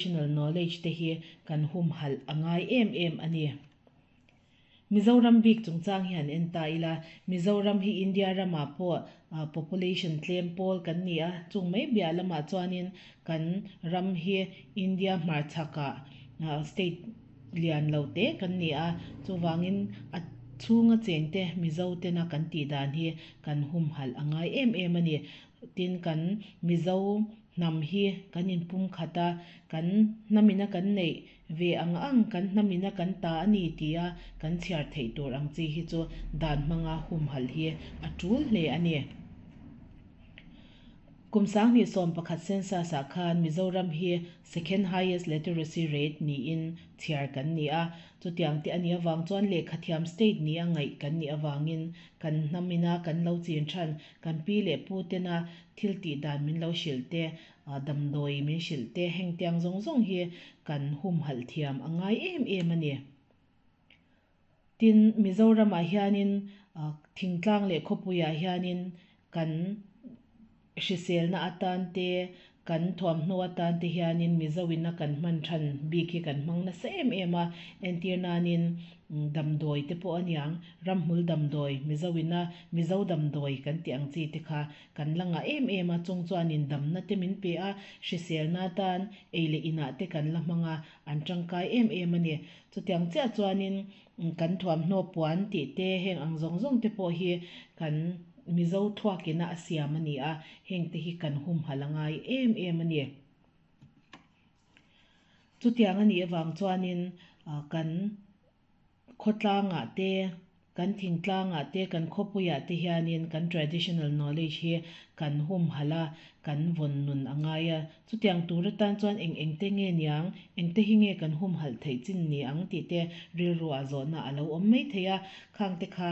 Traditional knowledge te hi kan humhalh a ngai em em a ni. Mizoram bik chungchang hi han en ta ila, Mizoram hi India ramah pawh population tlem pawl kan ni a, chung mai biah lamah chuanin kan ram hi India hmarchhakah state lian lo te kan ni a, chuvangin a chhunga chengte Mizo tena kan tih dan hi kan humhalh a ngai em em a ni. Tin, kan Mizo hnam hi kan inpumkhat a, kan hnamina kan neih ve ang ang, kan hnamina kan ta a ni tia kan chhiar theih tur ang chi hi chu dan hmanga humhalh hi a tul hle a ni. Kum 2011 census ah khan Mizoram hi second highest literacy rate niin chhiar kan ni a, chutiang te a nih avang chuan lehkhathiam state nia ngaih kan nih avangin kan hnamina kan lo chin than Kan pi leh pu tena thil tih dan min lo hrilh te, damdawi min hrilh te, heng tiang zawng zawng hi kan humhalh thiam a ngai em em a ni. Tin, Mizoramah hianin thingtlang leh khawpuiah hianin kan hriselna atan te, Kan thuamhnaw atan te hianin Mizo in a kan hman than bik hi kan hmang nasa em em a, entir nanin damdawi te pawh a niang, ramhmul damdawi, Mizo in a Mizo damdawi kan tih ang chi te kha kan la ngah em em a, chung chuanin damna te min pe a, hriselna atan ei leh inah te kan la hmang a, an tangkai em em a ni. Chutiang chiah chuanin Kan thuamhnaw puan tih te heng ang zawng zawng te pawh hi kan Mizo thuakina a siam a ni a, heng te hi kan humhalh a ngai em em a ni. Chutiang a nih avang chuanin kan khawtlangah te, kan thingtlangah te, kan khawpuiah te hianin kan traditional knowledge hi kan humhalh a, kan vawn nun a ngai a. Chutiang tur atan chuan eng engte nge niang, engte hi nge kan humhalh theih chin ni ang tih te rilruah zawhna a lo awm mai thei a, khangte kha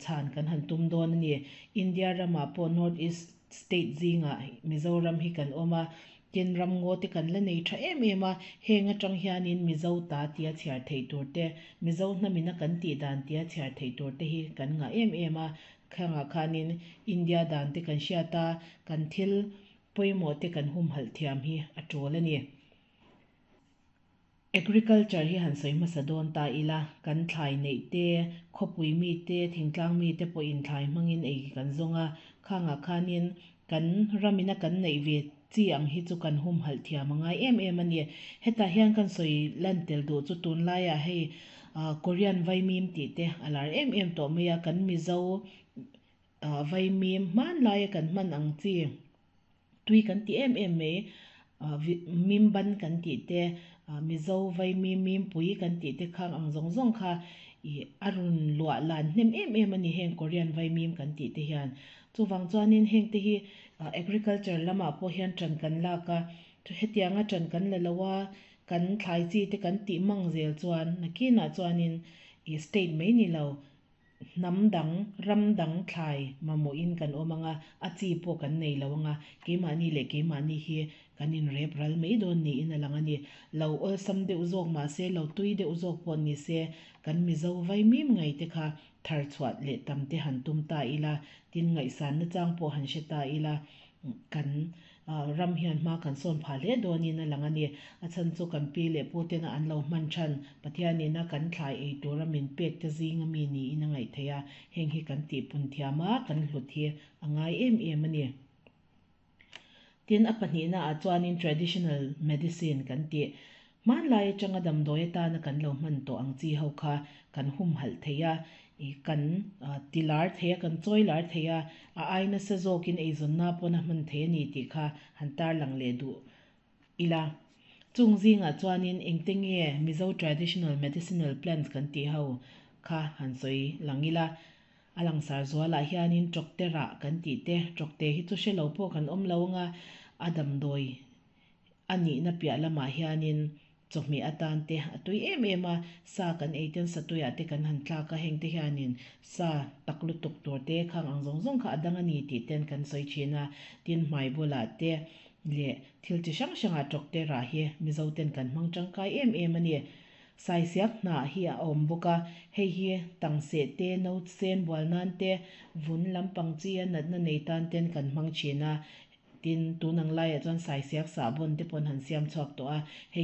chhan kan han tum dawn a ni. India ramah pawh North East state zingah Mizoram hi kan awm a, tin ramngaw te kan la nei tha em em a, heng atang hianin Mizo ta tia chhiar theih tur te, Mizo hnamina kan tih dan tia chhiar theih tur te hi kan ngah em em a, khangah khanin India dan te kan hriat a, kan thil pawimawh te kan humhalh thiam hi a tul a ni. Agriculture hi han sawi hmasa dawn ta ila, kan thlai neih te, khawpui mi te, thingtlang mi te pawhin thlai hmangin ei kan zawng a, khangah khanin kan ramina kan neih ve chi ang hi chu kan humhalh thiam a ngai em em a ni. Hetah hian kan sawi lan tel duh chu tunlaiah hei Korean vaimim tih te a lar em em tawh mai a, kan Mizo Vaimim hmanlaia kan hman ang chi tui kan ti em em mai, mimban kan tih te, Mizo vaimim mimpui kan tih te khang ang zawng zawng kha ih a rawn luah lan hnem em em a ni heng Korean vaimim kan tih te hian. Chuvang chuanin heng te hi agriculture lamah pawh hian ṭan kan lak a, hetianga ṭan kan la lo a, kan thlai chi te kan tih mang zel chuan nakinah chuanin ih state mai ni lo Hnam dang, ram dang thlai mamawhin kan awm ang a, a chi pawh kan nei lo ang a, keimahni leh keimahni hi kan inrep ral mai dawn niin a lang a ni. Lo awlsam deuh zawk mah se, lo tui deuh zawk pawh ni se, kan Mizo vaimim ngei te kha thar chhuah leh tam te han tum ta ila, tin ngaihsanna chang pawh han hre ta ila, kan Ram hian hma kan sawn phah hle dawnin a lang a ni. A chhan chu kan pi leh pu tena an lo hman than, Pathianina kan thlai ei tura min pek te zinga mi niin a ngaih theih a, heng hi kan tihpun thiam a, kan hlut hi a ngai em em a ni. Tin, a pahnihna ah chuanin traditional medicine kan tih. Hmanlai atanga damdawi atana kan lo hman tawh ang chi ho kha kan humhalh thei a, kan ti lar thei a, kan chawi lar thei a, a ai nasa zawkin eizawnna pawn a hman thei a ni tih kha han tarlang leh duh ila. Chung zingah chuanin engte nge Mizo traditional medicinal plants kan tih ho kha han sawi lang ila. A langsar zualah hianin tawkte rah kan tih te, tawkte hi chu hre lo pawh kan awm lo anga a damdawi A nihna piah lamah hianin chawhmeh atan te a tui em em a, sa kan ei ten satuiah te kan han tlak a, hengte hianin sa tak lutuk tur te khang ang zawng zawng kha a dang a ni tih ten kan sawi thin a, tin hmai bulah te leh thil chi hrang hrangah tawkte rah hi Mizo ten kan hmang tangkai em em a ni. Saisiak hnah hi a awm bawk a, hei hi tangseh te, no sen bual nan te, vun lampang chi a natna nei tan ten kan hmang thin a. Tin, tun ang laiah chuan saisiak sahbawn te pawh an han siam chhuak tawh a hei.